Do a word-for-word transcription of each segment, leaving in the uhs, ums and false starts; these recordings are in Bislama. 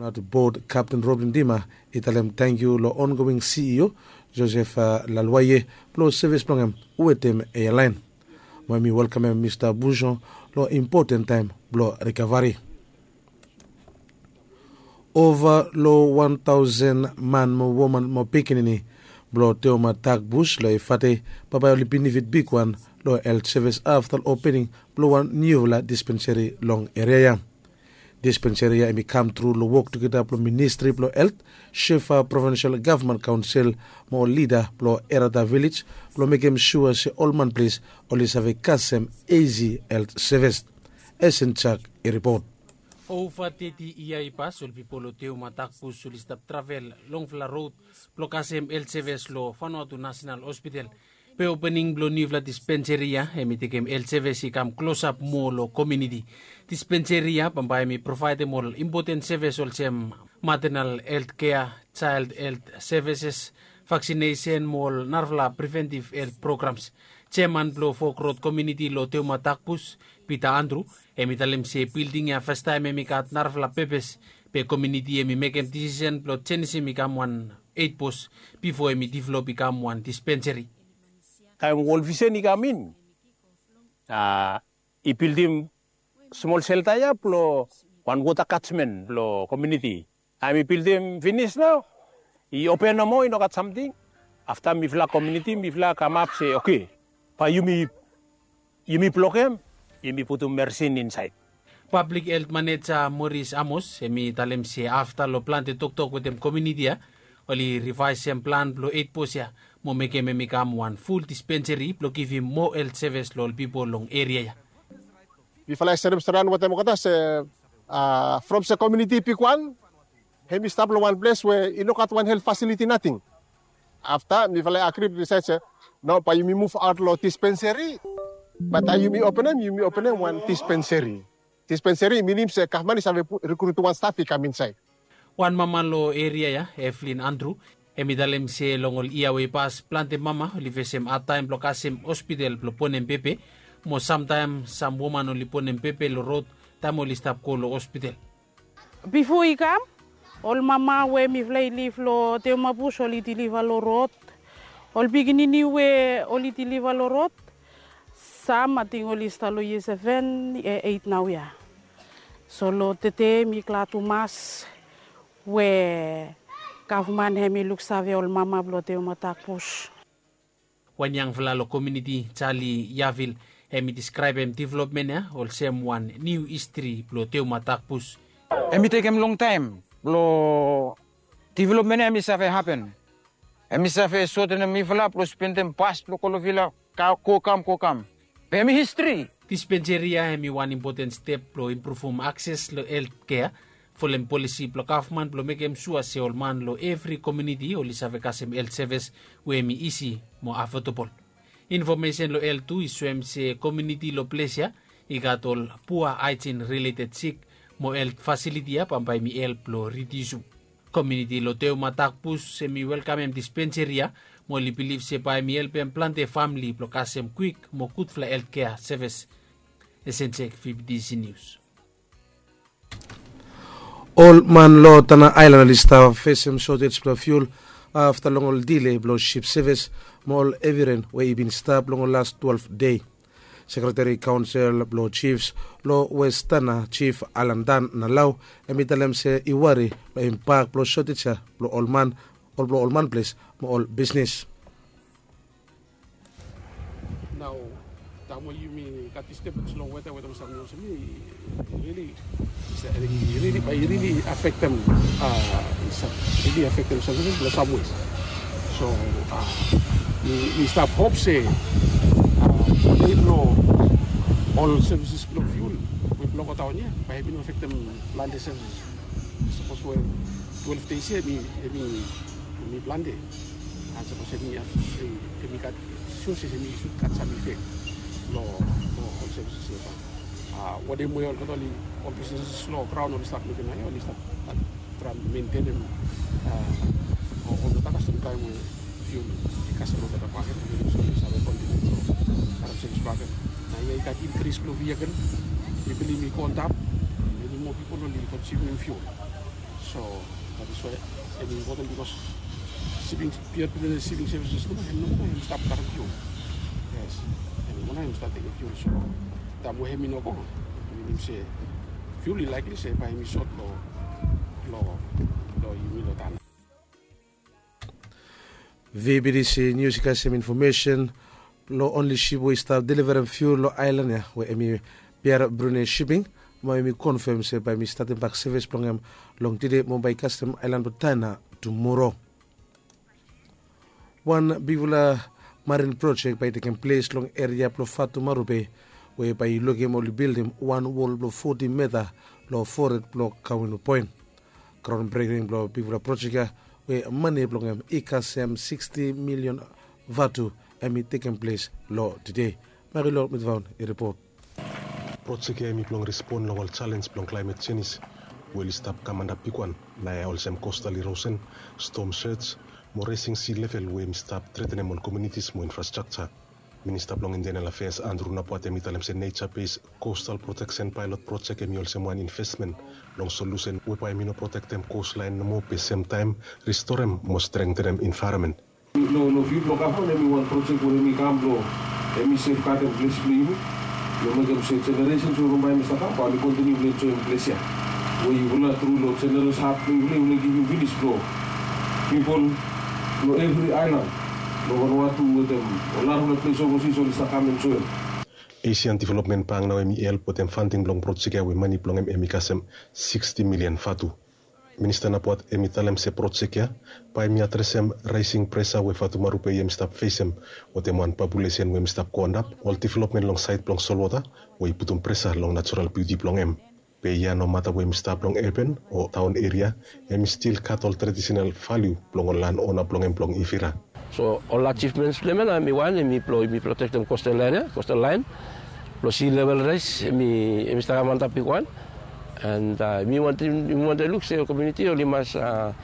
Nat bod Kapten Robin Dima i talem tangkiu long ongoing C E O Joseph Lalwaye blong sevis blong hem wetem airline. Mo hem i welkamem Mista Buson long impoten taem blong rikavari. Ova long wan taosen man mo woman mo pikinini blong Teoma Takbus long Efate bambae oli benefit bigwan long helt sevis afta long opening blong wan niufala dispenseri long eria ya. Dispenseri ya hem i kam tru long wok tugeta blong Ministri blong Helt, Shefa Provinsel Gavman Kaonsel mo ol lida blong Erata Vilej blong mekem sua se ol man ples oli save kasem isi helt sevis. Esen Jak i ripot. Ova teti yia i pas ol pipol long Teoma Takbus oli stap travel longfala rod blong kasem helt sevis long Vanuatu Nasenal Hospital. Be opening blong niufala dispenseri ya hem i tekem helt sevis i kam klosap moa long komuniti. Dispenseri ya bambae hem i provaedem ol impoten sevis olsem matenal helt kea, jael helt sevises, vaksinesen mo ol narafala preventiv helt programs. Jeaman blong Fok Rod komuniti long Teoma Takbus, Pita Andru, hem i talem se bilding ya fastaem hem i gat narafala pepes, be komuniti hem i mekem disisen blong jenisim i kam wan eit bos bifo hem i divelop i kam wan dispenseri. Taem Wol Visen i kam in, a, i bildim smol selta ya blong wan wota kajmen blong komuniti. Taem i bildim finis nao, i open nomo, i no gat samting. Afta mifala komuniti mifala kamap se, oke, bae yumi, yumi blokem, yumi putum mersin insaed. Pablik helt maneja Moris Amos hem i talem se afta long plante toktok wetem komuniti ya, oli rivaesem plan blong eit bos ya mo mekem hem i kam wan ful dispenseri blong givim moa helt sevis long ol pipol long eria ya. Mifala i serem stret wetem olgeta se, a, from se komuniti i bigwan, hem i stap long wan ples we i no gat wan helt fasiliti nating. Afta mifala i agri, disaed se, no, bae yumi muv aot long dispenseri. Be taem yumi openem, yumi openem wan dispenseri. Dispenseri i minim se gavman i save pu-, rikrutim wan staf i kam insaed. Wan mama long eria ya, Evelyn Andru, hem i talem se long ol yia we i pas plante mama oli fesem adtaem blong kasem hospital blong bonem pepe, mo samtaem sam woman oli bonem pepe long rod taem oli stap go long hospital. Bifo i kam, ol mama we mifala i liv long Teoma Bus oli diliva long rod. Ol pikinini we oli diliva long rod, sam ating oli stap long yia seven, e, eit naoia. So long tede mi glad tumas we gavman hem i luksave ol mama blong Teoma Takbus. Wan yangfala long komuniti, Charlie Yavil, hem i deskraebem developmen ya olsem wan niu histri blong Teoma Takbus. Hem i tekem longtaem blong developmen ya hem i save hapen. Hem i save sotenem mifala blong spendem bas blong Kolovila, ka-, go kam, go kam. Be hem i histri. Dispenseri ya hem i wan impoten step blong impruvum akses long helt kea, folem polisi blong gavman blong mekem sua se ol man long evri komuniti oli save kasem helt sevis we hem i isi mo afodabol. Infomesen long helt tu i soem se komuniti long ples ya i gat ol pua haejin rileted sik, mo helt fasiliti ya bambae hem i help blong ridiusum. Komuniti long Teoma Takbus hem i welkamem dispenseri ya, mo oli bilif se bae hem i helpem plante famle blong kasem kwik mo gudfala helt kea sevis. Esen Jek, V B T C News. Ol man long Tanna Aelan oli stap fesem sotej blong fiul afta long ol dile blong sip sevis mo ol hevi ren we i bin stap long ol las twelef dei. Sekreteri Kaonsel blong Jifs long Wes Tanna, Jif Alan Dan Nalau, hem i talem se i wari long impak blong sotej ya blong ol man, ol blong ol manples mo ol bisnis. Nao taem we yumi gat disturbens long weta, weta mo samting olsem i rili, i rili, bae i rili afektem, a, i sa-, rili afektem sevis long sam wes. So, a, mi, mi stap hop se, a, dei blong ol sevis blong fiul we blong godaon ya bae i bin afektem plante sevis. Sapos we twelef dei ya hem i, hem i, hem i plante. An sapos hem i, hem i gat, sua se hem i sud gat sam ifek long, long ol sevis ya. Bat, a, wanem we olgeta oli, ol bisnis long graon oli stap mekem naoia, oli stap traem mentenem, a, olgeta kasem taem we fiul i kasem olgeta bakegen, oli save kontiniu long karem sevis bakegen. Naoia i gat inkris blong vehikel, pipol i go antap, many moa pipol oli konsumem fiul. So that is why hemi impoten bikos siping, pior pikinini siping sevises nomo, hemi nomo hemi stap karem fiul. Yes, hemi nomo hemi stap tekem fiul. So taem we hemi no go, hemi minim se fiul i likely se bae hemi sot long, long, long yumi long taon. VBTC News i kasem infomesen long onli sip we i stap deliverem fiul long aelan ya we hemi Pier Brunei Shipping. Mo hemi konfem se bae hemi statem bak sevis blong hem long tede mo bae i kasem aelan blong Taena tumoro. Wan bigfala marin projek bae i tekem ples long eria blong Fatumarupe we bae i lukim oli bildim wan wol blong foti mita long fored blong Kawinu Poen. Graon breking blong bigfala projek ya we mane blong hem i kasem siksti milion vatu hemi tekem ples long tede. Marilou Mitvaon i ripot. Projek ya hemi blong respon long ol jalenj blong klaemet jenis we oli stap kam antap bigwan naoia olsem kostal irosen, stom sej mo resing si level we hemi stap tretenem ol komunitis mo infrastrakja. Minista blong Internal Afeas Andrew Napuat hemi talem se neja bes kostal proteksen paelot projek hemi olsem wan investmen long solusen we bae hemi no protektem kostlaen nomo be semtaem ristorem mo strengtenem envaeronmen. Long, long fiu blong gavman hemi wan projek we hemi kam blong hemi sefgadem ples blong yumi. Blong mekem se jeneresen we bae hemi stap kam bae oli kontiniu blong enjoem ples ya we yufala tru long jeneres hat blong yufala, yufala givim finis blong pipol long evri aelan long Vanuatu wetem ol narafala ples ovasis oli stap kam enjoem. Asian Development Bank nao hemi help wetem fanding blong projek ya we mane blong hem hemi kasem siksti milian vatu. Minista Napuat hemi talem se projek ya bae hemi adresem raesing presa we Fatumarupe hemi stap fesem wetem wan populesen we hemi stap go antap, ol developmen long saed blong solwota we i putum presa long najoral biuti blong hem. Be ya nomata we hemi stap long urban o taon eria, hemi stil gat ol tradisenal valiu blong ol lan ona blong hem blong Ivira. So ol ajivmens blong hem ya nao hemi wan, hemi blong, hemi protektem kostal laen ya, kostal laen blong si level raes hemi, hemi stap kam antap bigwan. And, a, mi wantem, mi wantem luk se komuniti oli mas, a,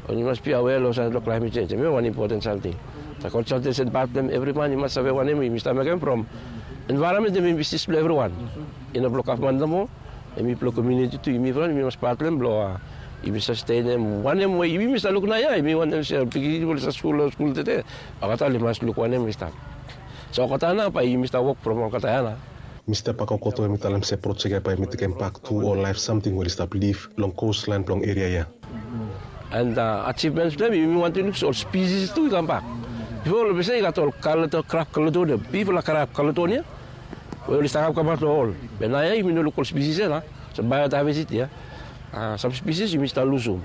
oli mas bia awea long saed blong klaemet jenj. Hemi wan impoten samting. Sa konsaltesen pat blong hem evri man i mas save wanem yumi stap mekem from envaeronmen hemi bisnis blong evriwan. I no blong gavman nomo, hemi blong komuniti tu, yumi evriwan yumi mas pat blong hem blong, a, yumi sastenem wanem we yumi stap luk naoia, yumi wantem se pikinini we oli stap skul long skul tede, olgeta oli mas luk wanem i stap. So olgeta nao bae yumi stap wok from olgeta ya nao. Mista Bakokoto hemi talem se projek ya bae hemi tekem bak tu ol laef samting we oli stap liv long kostlaen blong eria ya. And, a, ajivmens blong hem, yumi wantem luk se ol spisis tu i kambak. Bifo oli be se i gat ol kalato, krab kalaton ya, bigfala krab kalaton ya we oli stap kam, kam aot long ol. Be naoia yumi no luk ol spisis ya nao. So baeodavesiti ya, a, sam spisis yumi stap lusum,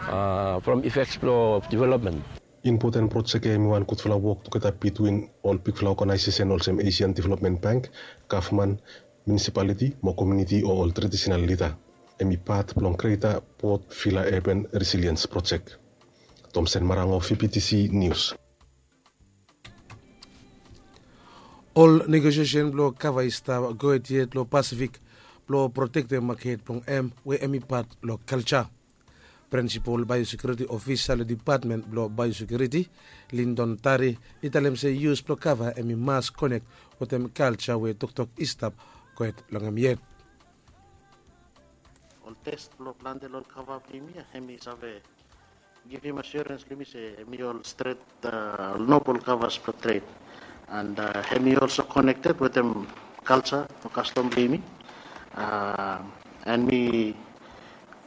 a, from ifeks blong developmen. Impoten projek ya hemi wan gudfala wok tugeta bitwin ol bigfala oganaesesen olsem Asian Development Bank, gavman, munisipaliti mo komuniti o ol tradisenal lida. Hemi pat blong Greater Port Vila Urban Resilience Project. Tomsen Marango, VBTC News. Ol negosiesen blong kava i stap gohed yet long Pasifik blong protektem maket blong hem we hemi pat long kalja. Prinsipol Biosekuriti Ofisa long Dipatmen blong Biosekuriti, Lyndon Tari, i talem se yus blong kava hemi mas konek wetem kalja we toktok i stap gohed long hem yet. Ol tes blong plante long ol kava blong yumi ya hemi save givim asiorens long yumi se hemi ol stret, a, ol nobol kavas blong tred. And, a, hemi olso konekted wetem kalja o kastom blong yumi. A, and mi,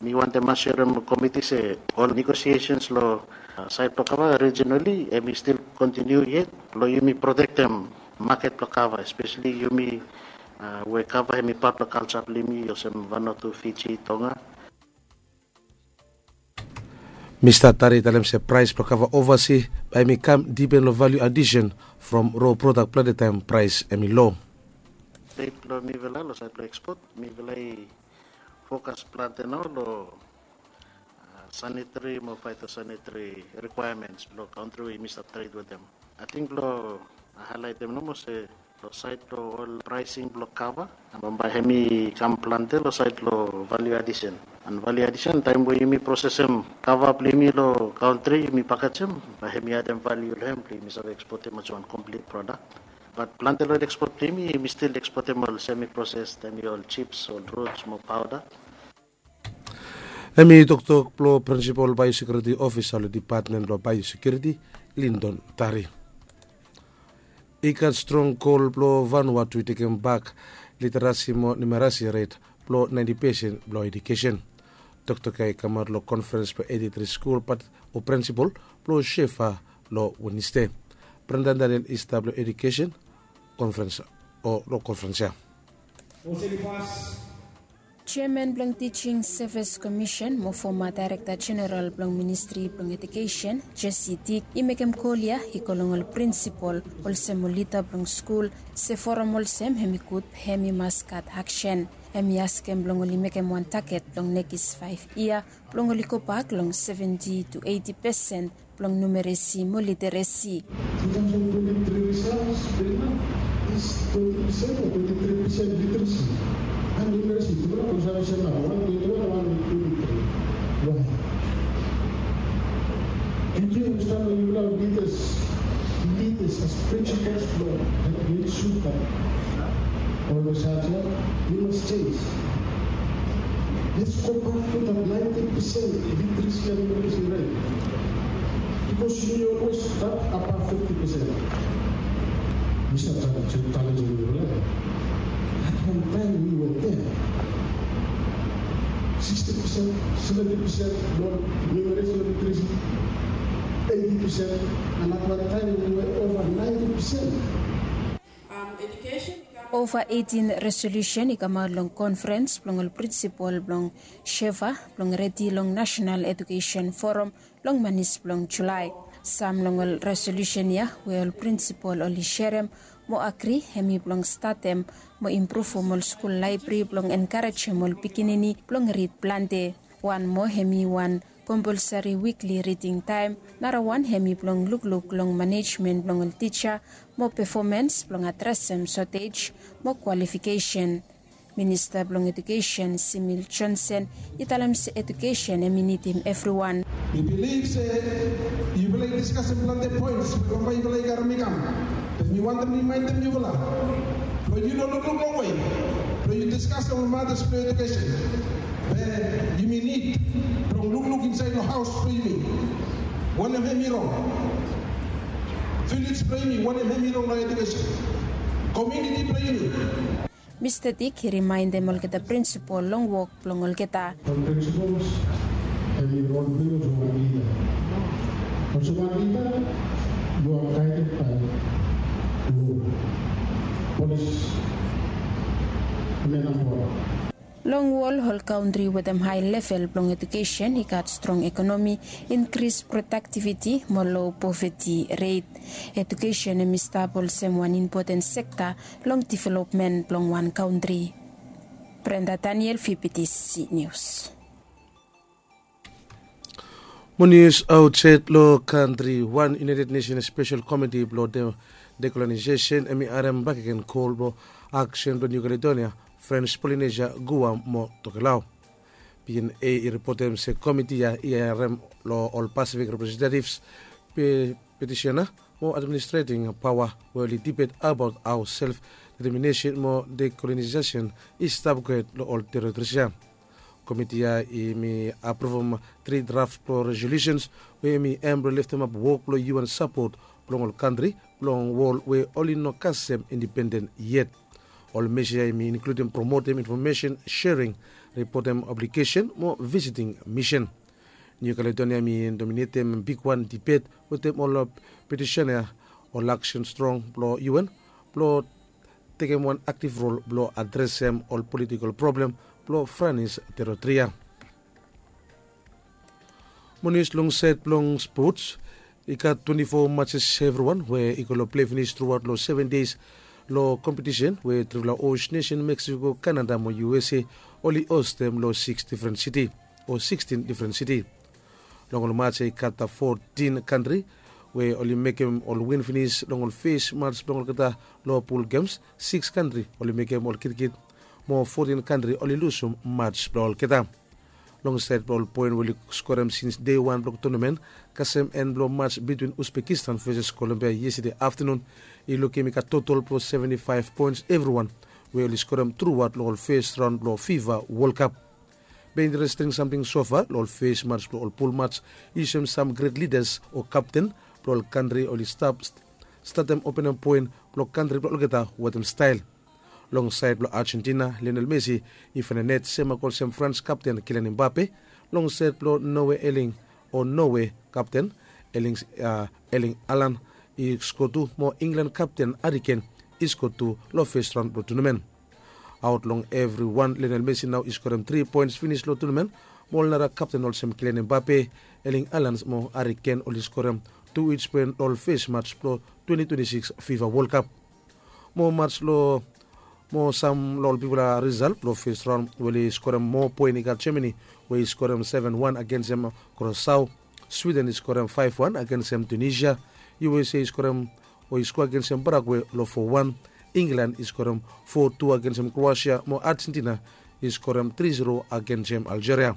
mi wantem asiorem komiti se ol negosiesens long, a, saed blong kava rijinali hemi stil kontiniu yet blong yumi protektem maket blong kava, espeseli yumi, a, we kava hemi pat blong kalja blong yumi olsem Vanuatu, Fiji, Tonga. Mista Tari i talem se praes blong kava ovasi bae hemi kam dipen long valiu adisen from ro prodak, plante taem praes hemi lo. Stet blong mifala long saed blong ekspot, mifala i fokas plante nao long, a, sanitari mo faetosanitari rikwaemens blong kantri we yumi stap tred wetem. Ating blong haelaetem nomo se long saed blong ol praesing blong kava, bambae hemi kam plante long saed blong valiu adisen. And valiu adisen, taem we yumi prosesem kava blong yumi long kantri, yumi pakejem, bae hemi adem valiu long hem blong yumi save ekspotem olsem wan komplit prodak. Bat plante long ekspot blong yumi, yumi stil ekspotem ol semi proses, hemi ol jips, ol ruts mo paoda. Hem i toktok blong prinsipol baiosekiuriti ofisa long dipatmen blong baiosekiuriti, Lindon Tari. I gat strong kol blong Vanuatu i tekem bak literasi mo numerasi ret blong naenti pesen blong edukesen. Toktok ya i kamaot long konferens blong etiti tri skul pat o prinsipol blong Shefa long Wenesde. Brenda Daniel i stap long edukesen konferens o long konferens ya. Jeaman blong Tijing Sevis Komisen mo foma daerekta jeneral blong ministri blong edukesen, Jesse Dick, i mekem kol ya i go long ol prinsipol olsem ol lida blong skul, se foram olsem hem i gud, hem i mas gat aksen. Hem i askem blong oli mekem wan taget blong nekis faef yia blong oli gobak long seventi tu eiti pesen blong numeresi mo literesi. Two thousand twenty-three results, Bella, is twenty percent or twenty-three percent literacy and numeracy. Tubera ko sa bisa na one twenty-one, one twenty-three. Why? Did you understand when you love leaders, leaders as principles, Lord, and we should have always had, you must change. Let's go back to that ninety percent literacy and numeracy rate. Because you always start above fifty percent. We start challenging, challenging the level. At one time we were there. Sixty percent, seventy percent, non-numeracy literacy, eighty percent, and at one time we were over ninety percent. Ova eitin resolusen i kamaot long konferens blong ol prinsipol blong Shefa blong redi long National Education Forum long manis blong Julai. Sam long ol resolusen ya we ol prinsipol oli serem mo agri hem i blong statem mo impruvum ol skul laebri blong enkarejem ol pikinini blong rid plante. Wan moa hem i wan kompolsari wikli riding taem. Narawan hem i blong lukluk long manejmen blong ol tija mo pefomans blong adresem sotej mo kwalifikesen. Minista blong edukesen Simil Jonsen i talem se edukesen hem i nidim evriwan. Mi bilif se yufala i diskasem plante poens we bambae yufala i karem i kam. Be mi wantem rimaendem yufala blong yu no lukluk longwe blong yu diskasem ol matas blong edukesen. Be yumi nid blong lukluk insaed long haos blong yumi wanem hem i rong. Vilej blong yumi wanem hem i rong long edukesen. Komuniti blong yumi. Mista Dik i rimaendem olgeta prinsipol long wok blong olgeta. Ol prinsipol hem i rol blong yu olsem wan lida. Olsem wan lida yu are gaeded bae lo, polis, men and wol. Long wol ol kantri wetem hae level blong edukesen i gat strong ekonomi, inkris prodaktiviti mo lo poveti ret. Edukesen hem i stap olsem wan impoten sekta long developmen blong wan kantri. Brenda Daniel, V P T C News. Mo nius aotsaed long kantri, wan United Nations Spesel Komiti blong Dekolonaesesen hem i harem bakegen kol blong aksen blong Niu Kaledonia, Frens Polinesia, Guam mo Tokelau. P N A i ripotem se komiti ya i harem long ol Pasifik representativs, petisena mo administreting paoa we oli dibet abaot hao self deteminesen mo dekolonaesesen i stap gud long ol teritoris ya. Komiti ya hem i apruvum tri draf blong resolusens we hem i hem blong leftemap wok blong U N sapot blong ol kantri blong wol we oli no kasem indipenden yet. Ol mesa ya hem i inkludim promotem infomesen sering, ripotem obligesen mo visiting misen. Niu Kaledonia hem i dominetem bigwan dibet wetem ol petisena ya. Ol aksen strong blong U N blong tekem wan aktiv rol blong adresem ol politikol problem blong Franis teritori ya. Mo nius long saed blong spots, i gat twenti fo matses evriwan we i go long plei finis truaot long seven deis long kompetisen we trifala host nesen Meksiko, Kanada mo U S A oli hostem long siks difren siti o sikstin difren siti. Long ol mats ya i gat fotin kantri we oli mekem ol win finis long ol fes mats blong olgeta long pul gems. Siks kantri oli mekem ol kitkit mo fotin kantri oli lusum mats blong olgeta. Long saed blong ol poen we oli skorem sins dei wan blong tonamen, kasem en blong mats bitwin Uzbekistan veses Kolombia yestade aftanun, i lukim i gat totol blong seventi faef poens evriwan we oli skorem truaot long ol fes raon blong Fifa Wol Kap. Be interesting samting sofa long ol fes mats blong ol pul mats, yusum sam gret lidas o kapten blong ol kantri oli stap statem openem poen blong kantri blong olgeta wetem stael. Long saed blong argentina, lionel messi i faenem net semak olsem frans kapten kilian imbape. Long saed blong noe eling o noe kapten eling alan i sko tu mo inglan kapten ariken i sko tu long fes raon blong tunamen. Aot long evriwan, lionel messi nao i skorem tri poens finis long tunamen, mo ol nara kapten olsem kilian imbape, eling alans mo ariken oli skorem tu ij poen long ol fes mats blong twenti twenti sikis fifa wol kap. Mo mats long mo sam long ol bigfala risalt blong fes raon we oli skorem moa poen i gat gemani, we i skorem seven one agensem krosau. Swiden i skorem faef wan agensem tunisia. Usa i skorem o i skoa agensem parague long fo wan. Inglan i skorem fo tu agensem kroasia mo argentina i skorem tri zero agensem aljeria.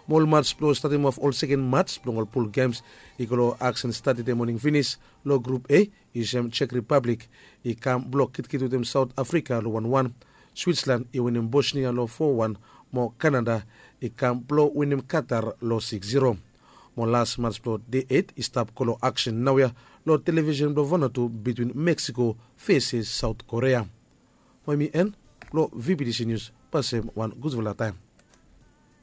Mo ol mats blong statim of ol seken mats blong ol pul gems i go long aksen stadi de moning finis. Long grup a, yusum jek ripablik i kam blok kitkit wetem saot afrika long wanwan. Switsland i winim bosnia long fo wan, mo kanada i kam blok winim katar long siks zero. Mo las mats blong de eit i stap go long aksen naoia long televisen blong vanatu bitwin meksiko feses saot korea. Mo em i en blong vptc nius. Pasem wan gudfala taem.